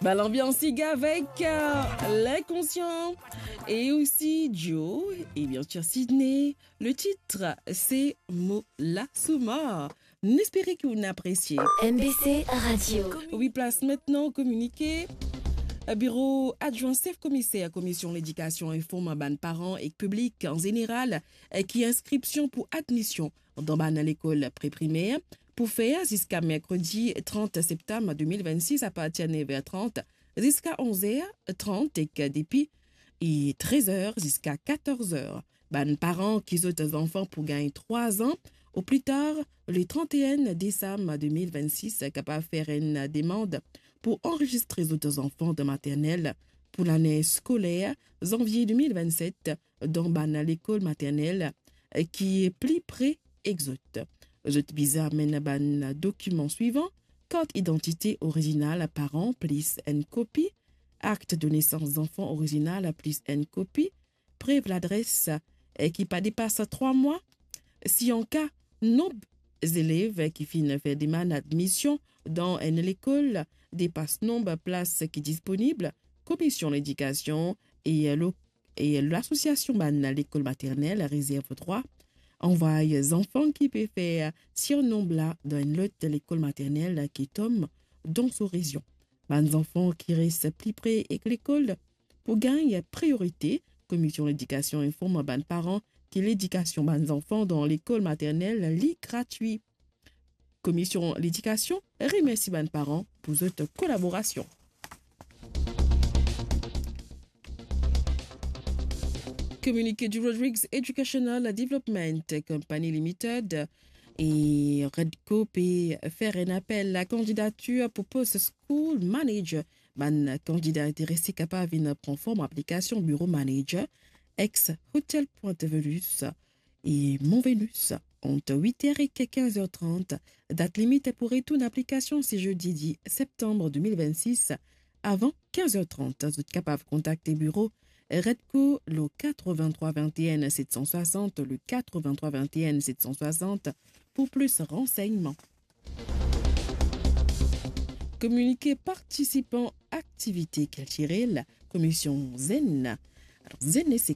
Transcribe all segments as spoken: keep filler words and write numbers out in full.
Bel anbians ig avek, euh, L'inconscient et aussi Joe et bien sûr Sydney. Le titre, c'est Molasuma. Nou espere ki ou apresie. M B C Radio. Wi, plas aster kominike. Biro adwin sef komiser Komision Ledikasion inform bann paran ek piblik an zeneral ki inskripsion pou admision dan bann lekol pre-primer pou fer ziska merkredi trant septam de mil vennsis apartir nev er trant ziska onz er trant ek depi trez er ziska katorz er. Bann paran ki zot zanfan pou gagn trwa an ou pli tar le trant et un desam de mil vennsis kapav fer enn demann pou anrezistre zot zanfan dan maternel pou lane skoler zanvie de mil vennset dan bann lekol maternel ki pli pre ek zot. Zot bizin amenn bann dokiman swivan: kart idantite orizinal paran plis enn kopi, akt de nesans zanfan orizinal plis enn kopi, prev ladres, eh, ki pa depas trwa mwa. Si an ka nonb zelev ki finn fer demann admision dan enn lekol depas nonb plas ki disponib, Komision Ledikasion e lo-, e Lasosiasion bann lekol maternel rezerv drwa anvway zanfan ki pe fer sirnonb la dan enn lot lekol maternel ki tom dan so rezion. Bann zanfan ki res pli pre ek lekol pou gagn priorite. Komision Ledikasion inform bann paran ki ledikasion bann zanfan dan lekol maternel li gratwi. Komision Ledikasion remersi bann paran pou zot kolaborasion. Kominike di Rodrigues Educational Development Company Limited e Redco pe fer enn apel a kandidatir pou pos school manager. Bann kandida interese kapav vinn pran form aplikasion biro manager, ex Hotel Pointe Venus e Mont Venus, ant wit er ek kinz er trant. Dat limit pou retourn aplikasion se zedi dis septam de mil vennsis, avan kinz er trant. Zot kapav kontakte biro Redco lo katrevin-trwa vin-e-enn set san swasant, lo katrevin-trwa vin-e-enn set san swasant, pou plis ransegnman. Kominike partisipan aktivite kiltirel, Komision Zenn. Alor, Zenn, se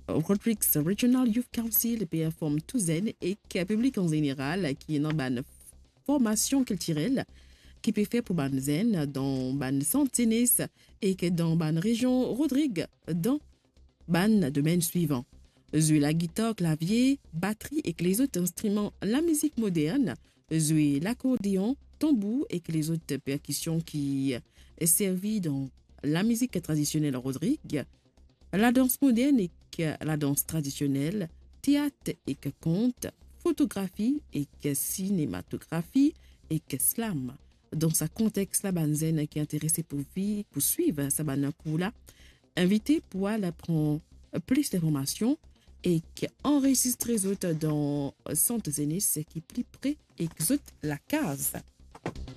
Rodrigues Regional Youth Council pe inform tou zenn ek piblik an zeneral ki ena bann formasion kiltirel ki pe fer pou bann zenn dan bann sant zenes ek dan bann rezion Rodrig dan bann domenn swivan: zwe lagitar, klavie, batri ek lezot instriman lamizik modern, zwe lakordeon, tanbour ek lezot perkision ki servi dan lamizik tradisionel Rodrig, ladans modern ek ladans tradisionel, teat ek kont, fotografi ek sinematografi ek slam. Dan sa kontex la, bann zenn ki interese pou vi-, pou swiv sa bann kour la, invite pou al pran plis linformasion ek anrezistre zot dan sant zenes ki pli pre ek zot lakaz.